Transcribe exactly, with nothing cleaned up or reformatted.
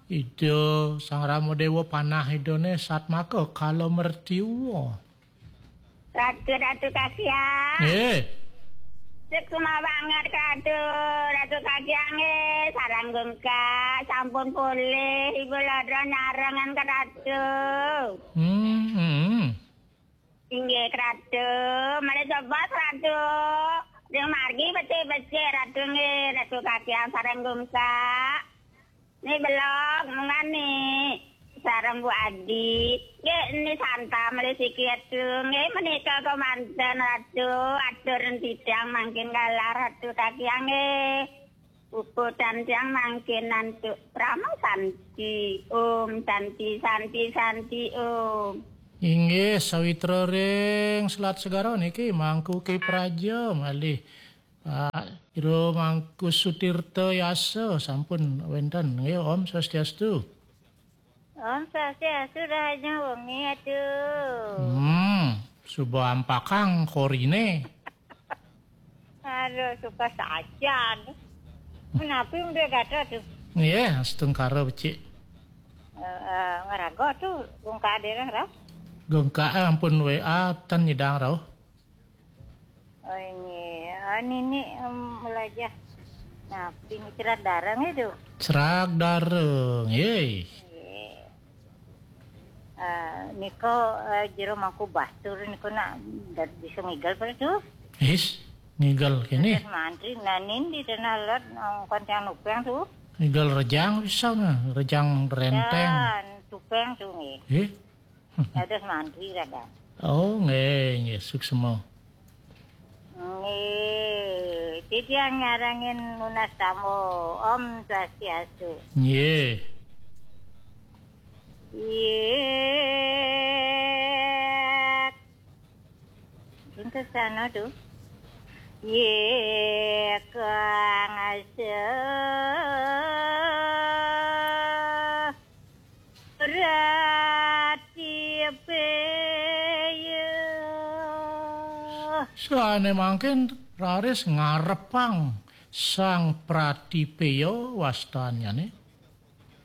Ida Sang Rama Dewa panah Idane satmaka kala mertiwa. Ratu, Ratu Kasyang. Nggih. Suksma banget, Ratu. Ratu Kasyang nggih, sareng gungkak, sampun polih, Ibu Lara nyarengan ke Ratu. Hmm, hmm. Inggih, Ratu. Malih sebas, Ratu. Ring margi becik-becik, Ratu nggih, Ratu Kasyang sareng gungkak. Ni belog, munggah ni. Sareng Bu Adi. Nggih, ni santam malih siki Ratu. Nggih, menika kemanten Ratu. Atur titiang mangkin galah Ratu Kasyang nggih. Puput titiang mangkin antuk Parama Santi. Om Santi, Santi, Santi, Om. Inggih, sawitra ring Selat Segara niki Mangku Ki Praja malih Pak Ira Mangku Sutirta Yasa sampun wenten. Nggih, Om Swastiastu. Om Swastiastu, Raja Wengi, aduh. Hmm, suba ampakang korine. Aduh, suka sajan. Menapi udah gata tuh. Nggih, astungkara becik. Eh, eh, ngeraga tuh, gungkak dereng, Rau. Gungkak, eh, ampun W A ten nyidang, Rau. Oh, ini. Ah, nini, em, melajah. Nah, ini cerah darang itu. Cerah darang, ye. Ye. Ah, niko, eh, jero mangku bastur niko nak dat-, bisa ngigal pada tuh. Is, ngigal kene. Terus mantri, nah, nindi tanah lot, nang kontiang nupeng tuh. Ngigal rejang bisa nah, rejang renteng. Dan tupeng tuh, nggih. Eh? Dados mantri kadang. Oh, nggih, nggih, suksma. Nggih, titiang nyarengin nunas tamu. Om Swastiastu. Nggih. Yek. Pintu sana tuh. Yek kang asa. Rati Peya. Sané mangkin raris ngarepang Sang Pratipeya wastanyane.